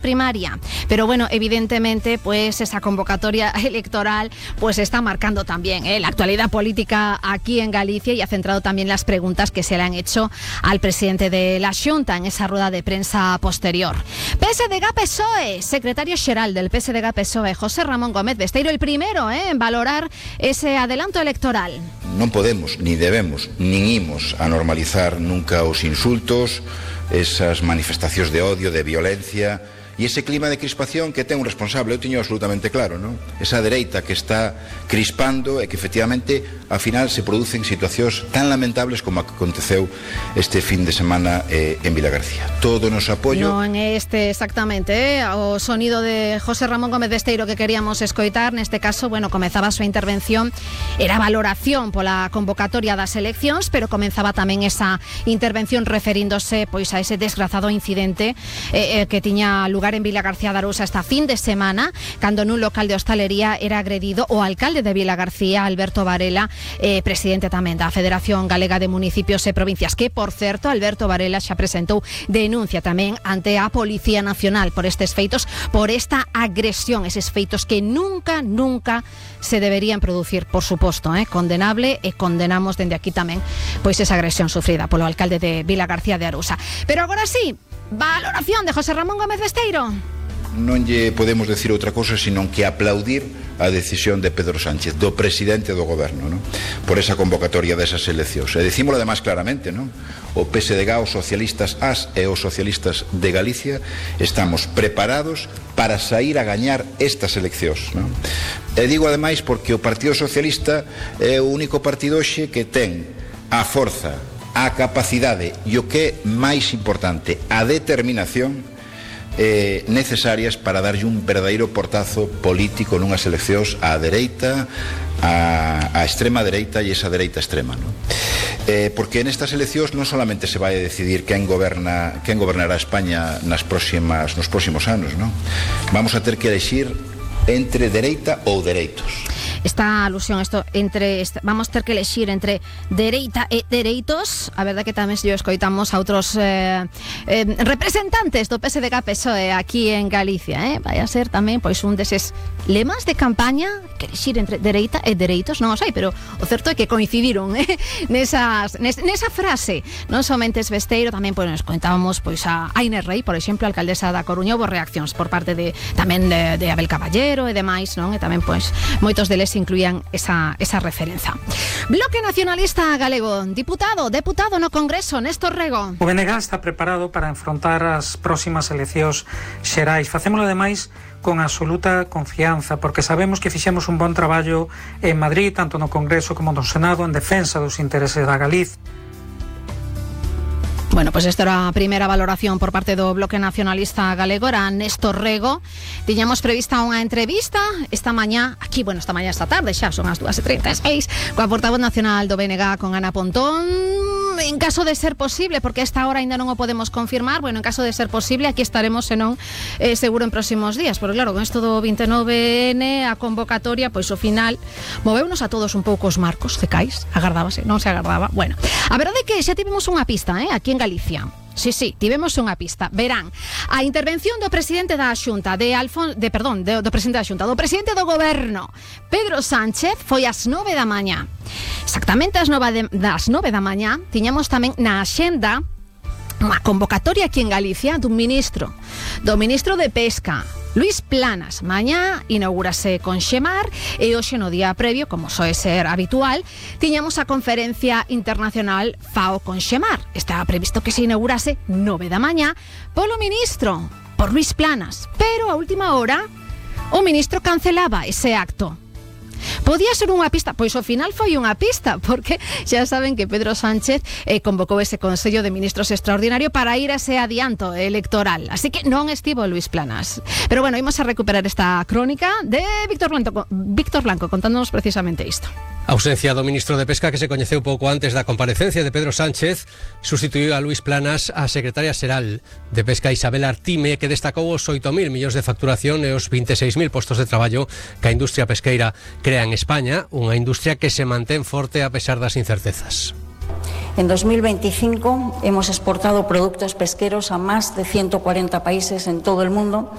primaria, pero bueno, evidentemente pues esa convocatoria electoral pues está marcando también la actualidad política aquí en Galicia y ha centrado también las preguntas que se le han hecho al presidente de la Xunta en esa rueda de prensa posterior. PSDG-PSOE, secretario xeral del PSDG-PSOE, José Ramón Gómez Besteiro, el primero en valorar ese adelanto electoral. Non podemos, ni debemos, nin imos a normalizar nunca os insultos, esas manifestacións de odio, de violencia e ese clima de crispación que ten un responsable, eu teño absolutamente claro, non? Esa dereita que está crispando e que efectivamente ao final se producen situacións tan lamentables como aconteceu este fin de semana en Vilagarcía. Todo o noso apoio. Non é este exactamente o sonido de José Ramón Gómez Besteiro que queríamos escoitar. Neste caso, bueno, comezaba a súa intervención, era valoración pola convocatoria das eleccións, pero comenzaba tamén esa intervención referíndose pois a ese desgrazado incidente que tiña lugar en Vilagarcía de Arousa esta fin de semana, cando nun local de hostalería era agredido o alcalde de Vilagarcía, Alberto Varela, presidente tamén da Federación Galega de Municipios e Provincias, que, por certo, Alberto Varela xa presentou denuncia tamén ante a Policía Nacional por estes feitos, por esta agresión, eses feitos que nunca se deberían producir, por suposto, condenable, e condenamos dende aquí tamén pois esa agresión sufrida polo alcalde de Vilagarcía de Arousa. Pero agora sí, valoración de José Ramón Gómez Besteiro. Non lle podemos decir outra cousa senón que aplaudir a decisión de Pedro Sánchez, do presidente do goberno, non? Por esa convocatoria desas eleccións. E dicímolo además claramente, non? O PSDG, os socialistas as e os socialistas de Galicia estamos preparados para sair a gañar estas eleccións, non? E digo ademais porque o Partido Socialista é o único partido hoxe que ten a forza, a capacidade e o que é máis importante, a determinación necesarias para darlle un verdadeiro portazo político nunhas eleccións á dereita, a extrema dereita e esa dereita extrema, non? Porque nestas eleccións non solamente se vai a decidir quen gobernará España nos próximos anos, non? Vamos a ter que elexir entre dereita ou dereitos. Esta alusión, vamos ter que elexir entre dereita e dereitos. A verdade que tamén se escoitamos a outros representantes do PSDG-PSOE aquí en Galicia, vai a ser tamén pois un deses lemas de campaña, que elexir entre dereita e dereitos, non o sei, pero o certo é que coincidiron nesa frase. Non somente es Besteiro, tamén pois nos contábamos pois a Inés Rei, por exemplo, a alcaldesa da Coruña, houve reaccións por parte tamén de Abel Caballero e demais, non? E tamén pois moitos deles incluían esa referencia. Bloque Nacionalista Galego, deputado no Congreso, Néstor Rego. O BNG está preparado para enfrontar as próximas eleccións xerais. Facémolo ademais con absoluta confianza, porque sabemos que fixemos un bon traballo en Madrid, tanto no Congreso como no Senado, en defensa dos intereses da Galicia. Bueno, pues esta era a primeira valoración por parte do Bloque Nacionalista Galego, era Néstor Rego. Tiñamos prevista unha entrevista esta tarde, xa son as 2:36, coa portavoz nacional do BNG, con Ana Pontón. En caso de ser posible, porque a esta hora ainda non o podemos confirmar, bueno, en caso de ser posible, aquí estaremos, senón, seguro en próximos días, porque claro, con isto do 29N, a convocatoria, pois ao final, moveunos a todos un pouco os marcos cecais, agardábase, non se agardaba. Bueno, a verdade é que xa tivemos unha pista, aquí en Galicia. Sí, tivemos unha pista. Verán, a intervención do presidente da Xunta, do presidente do goberno, Pedro Sánchez, foi ás 9 da mañá. Exactamente ás 9 da mañá, tiñamos tamén na axenda unha convocatoria aquí en Galicia do ministro de Pesca, Luís Planas. Mañá inaugúrase con Xemar e hoxe no día previo, como soe ser habitual, tiñamos a conferencia internacional FAO con Xemar. Estaba previsto que se inaugurase 9 da mañá polo ministro, por Luís Planas, pero a última hora o ministro cancelaba ese acto. Podía ser unha pista, pois ao final foi unha pista, porque xa saben que Pedro Sánchez convocou ese Consello de Ministros extraordinario para ir a ese adianto electoral, así que non estivo Luís Planas. Pero bueno, imos a recuperar esta crónica de Víctor Blanco contándonos precisamente isto. A ausencia do ministro de Pesca, que se coñeceu pouco antes da comparecencia de Pedro Sánchez, sustituiu a Luís Planas a secretaria xeral de Pesca, Isabel Artime, que destacou os 8.000 millóns de facturación e os 26.000 postos de traballo que a industria pesqueira crea en España, unha industria que se mantén forte a pesar das incertezas. En 2025 hemos exportado productos pesqueros a más de 140 países en todo el mundo